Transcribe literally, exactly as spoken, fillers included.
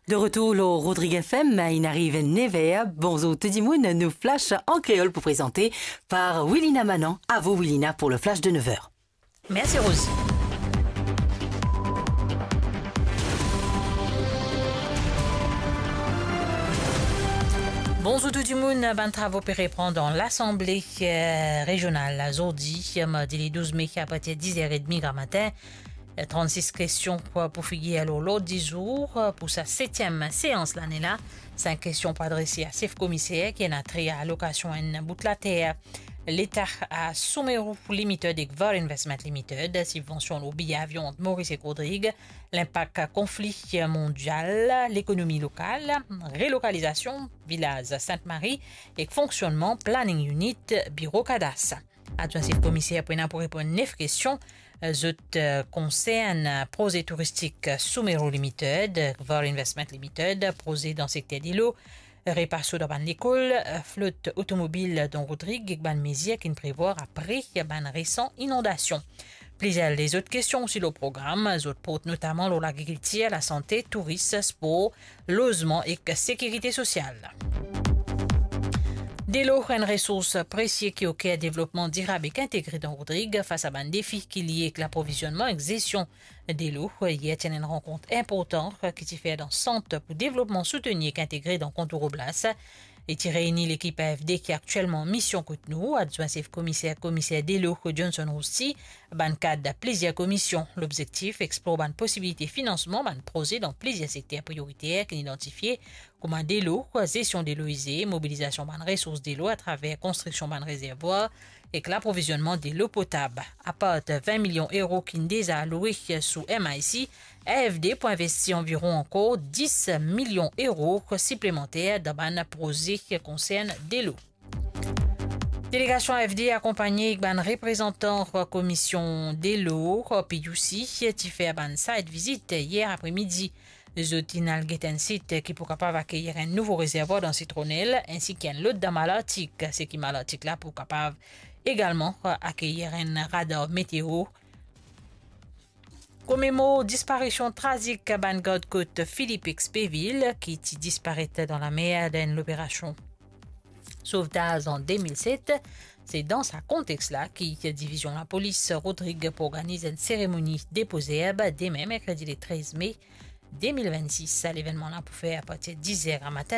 De retour lor Rodrig F M, inn ariv nev er. Bonzour tou dimoun, nou flash an kreol pou prezante par Wilina Manan. A vous, Wilina, pour le flash de nev er. Mersi, Rosie. Bonzour tou dimoun, bann travo pe repran dan Lasanble, eh, Rezional la, zordi, mardi le douz me, apartir diz er edmi gramatin. Trannsis kestion pou, pou figir lor lord dizour pou sa setiem seans lane la. Sink kestion pou adrese a sef komiser ki ena tre a lokasion enn bout later Leta a Soumero Limited ek Var Investment Limited, sibvansion lor biye avion ant Moris ek Rodrig, linpak konfli mondial, lekonomi lokal, relokalizasion vilaz Sint Mari ek fonksionnman Planning Unit, biro kadas. Adwin sef komiser pou ena pou reponn nef kestion. Zot, eh, konsern, eh, proze touristik, eh, Soumero Limited, eh, Var Investment Limited, proze dan sekter delo, repa so dan bann lekol, eh, flot otomobil dan Rodrig ek bann mezir ki'nn prevwar apre bann resan inondasion. Plizier lezot kestion osi lor program, zot port notaman lor lagrikiltir, lasante, touris, spor, lozman ek sekirite sosial. Delo, enn resours presie ki oker devlopman dirab ek integre dan Rodrig. Fas a bann defi ki lie ek laprovizionnman ek zesion delo, yer ti ena enn rankont inportan ki ti fer dan Sant pou Devlopman Soutni ek Integre dan Kontour Oblas. Li ti reyni lekip A F D ki aktielman mision kot nou, adwin sef komiser, komiser delo Johnson Rousti, bann kad plizier komision. Lobzektif, explor bann posibilite finansman bann proze dan plizier sekter prioriter ki'nn idantifie, kouma delo, zesion delo ize, mobilizasion bann resours delo atraver konstriksion bann rezervwar ek laprovizionnman delo potab. Apar vin milion euro ki'nn deza aloue sou M I C, A F D pou investi anviron ankor dis milion euro siplemanter dan bann proze ki konsern delo. Delegasion A F D akonpagne ek bann reprezantan komisionn delo, P U C, ti fer bann site visit yer apremidi. Zot inn al get enn sit ki pou kapav akeyir enn nouvo rezervwar dan Sitronel, ensi ki enn lot dan Malartik, seki Malartik la pou kapav egalman akeyir enn radar meteo. Komemor disparision trazik bann gard kot Philippe Expeville, ki ti disparet dan lamer dan enn loperasion sovtaz an de mil set. Se dan sa kontex la ki divizion lapolis Rodrig pou organiz enn seremoni depo zerb demin, merkredi le trez me de mil vennsis. Sa levennman la pou fer apartir diz er gramatin.